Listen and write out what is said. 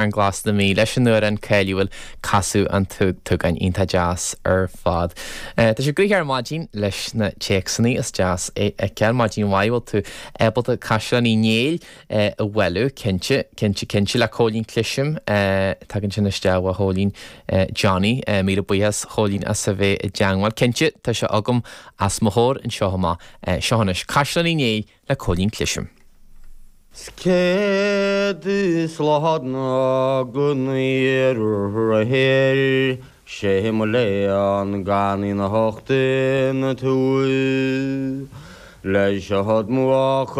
Fearann Glas na Mí leis an amhrán cáiliúil Casadh an tSúgáin. Iontach deas ar fad. Tá sé gnoitheach ar maidin leis na téacsanna, is deas é a fheiceáil. Maidin mhaith, bhfuil tú ábalta Caisleán Uí Néill a bhailiú? Cinnte, cinnte, cinnte. Le Cóilín Clisim. Tagann sin isteach ó Chóilín Johnny. Míle buíochas Chóilín as a bheith i dteangmháil. Cinnte, tá sé agam os mo chomhair anseo amach. Seo anois Caisleán Uí Néill le Cóilín Clisim. 'S céad is lá ná go n-iarrfaidh sé mo léan gan ina thocht ina tuath leis a thod mo mhac.